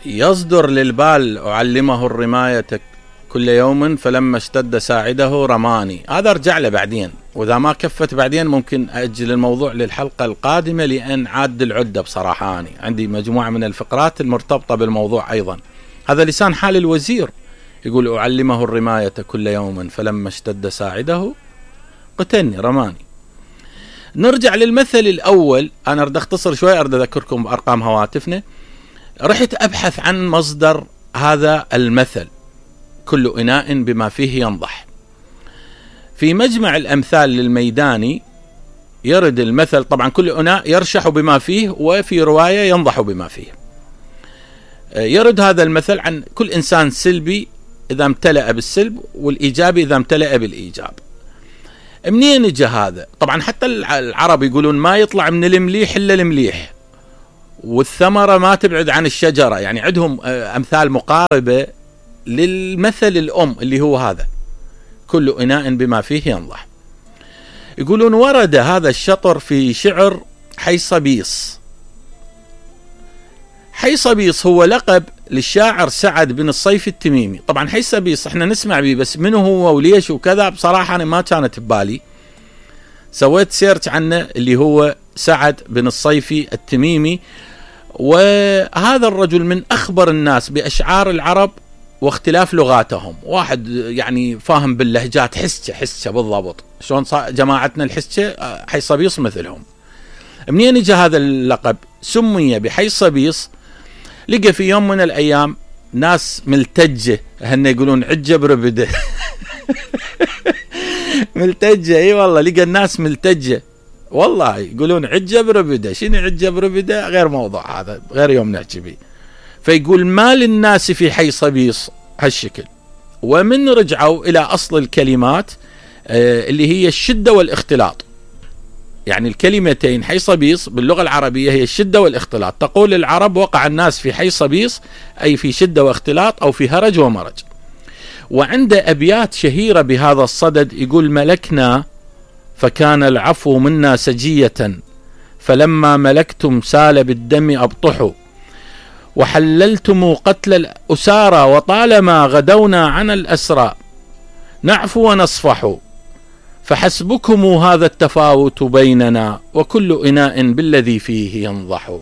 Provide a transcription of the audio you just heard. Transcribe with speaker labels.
Speaker 1: فيصدر للبال أعلمه الرماية كل يوم فلما اشتد ساعده رماني. هذا ارجع له بعدين، واذا ما كفت بعدين ممكن اجل الموضوع للحلقة القادمة، لان عاد العدة بصراحة أنا عندي مجموعة من الفقرات المرتبطة بالموضوع ايضا. هذا لسان حال الوزير، يقول أعلمه الرماية كل يوم فلما اشتد ساعده قتلني رماني. نرجع للمثل الأول. أنا أريد أختصر شوي، أريد أذكركم بأرقام هواتفنا. رحت أبحث عن مصدر هذا المثل كل إناء بما فيه ينضح. في مجمع الأمثال للميداني يرد المثل، طبعا كل إناء يرشح بما فيه، وفي رواية ينضح بما فيه. يرد هذا المثل عن كل إنسان سلبي إذا امتلأ بالسلب، والإيجابي إذا امتلأ بالإيجاب. منين اجى هذا؟ طبعا حتى العرب يقولون ما يطلع من المليح إلا المليح، والثمرة ما تبعد عن الشجرة. يعني عندهم أمثال مقاربة للمثل الأم اللي هو هذا كل إناء بما فيه ينضح. يقولون ورد هذا الشطر في شعر حيصبيص. حيصبيص هو لقب للشاعر سعد بن الصيف التميمي. طبعا حيصبيص احنا نسمع به، بس منه هو وليش وكذا بصراحة أنا ما كانت ببالي. سويت سيرش عنه، اللي هو سعد بن الصيف التميمي. وهذا الرجل من أخبر الناس بأشعار العرب واختلاف لغاتهم. واحد يعني فاهم باللهجات، حسة بالضبط شلون جماعتنا الحسة، حيصبيص مثلهم. منين اجى هذا اللقب؟ سمي بحيصبيص. لقى في يوم من الأيام ناس ملتجة، هن يقولون عجة بربدة ملتجة، اي والله لقى الناس ملتجة، والله يقولون عجة بربدة. شنو عجة بربدة؟ غير موضوع، هذا غير يوم نحكي به. فيقول ما للناس في حيصبيص هالشكل. ومن رجعوا إلى أصل الكلمات اللي هي الشدة والاختلاط. يعني الكلمتين حيصبيص باللغة العربية هي الشدة والاختلاط. تقول العرب وقع الناس في حيصبيص، أي في شدة واختلاط أو في هرج ومرج. وعند أبيات شهيرة بهذا الصدد يقول ملكنا فكان العفو منا سجية، فلما ملكتم سال بالدم أبطحوا، وحللتم قتل الأسارى، وطالما غدونا عن الأسرى نعفو ونصفح، فحسبكم هذا التفاوت بيننا، وكل إناء بالذي فيه ينضح.